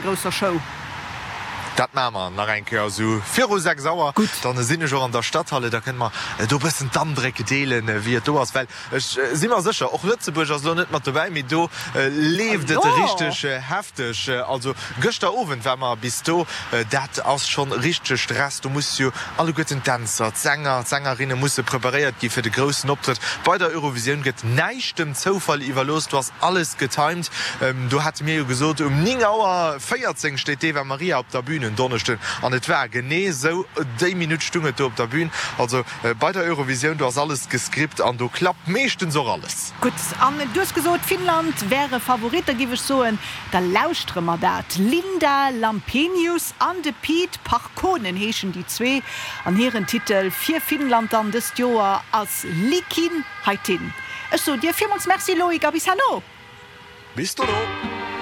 Grousser Show. Dat maache mer nach eng Kéier esou viru 6 Auer. Gutt. Dann sinn ech och an der Stadhalle, da kënne mer do e bëssen d'Andréck deelen, wéi et do ass. Well ech si mer sécher, och Lëtzebuerg ass elo net mat dobäi, mee do leeft et richteg hefteg. Also gëschter Owend war mer bis do, dat ass schonn richtege Stress. Do musse jo alleguerten d'Dänzer, d'Sänger, d'Sängerinne musse preparéiert gi fir de groussen Optrëtt. Bei der Eurovisioun gëtt näischt dem Zoufall iwwerlooss, do ass Alles getimed. Do hate mir jo gesot, um 9 Auer 14 steet d'Eva Marija op der Bühn en Donneschden. An et war genee esou, déi Minutt stung et do op der Bühn. Also bei der Eurovisioun, do ass alles gescript an do klappt meeschtens och alles. Gutt, an du hues gesot, Finnland wär e Favorit. Da giff ech soen, da lauschtere mer dat. D'Linda Lampenius an de Pete Parkkonen heeschen déi zwee. An hiren Titel fir Finnland dann dëst Joer ass Likin. Heitin. Ech soen dir villmools Merci Loïc a bis herno! Bis dono!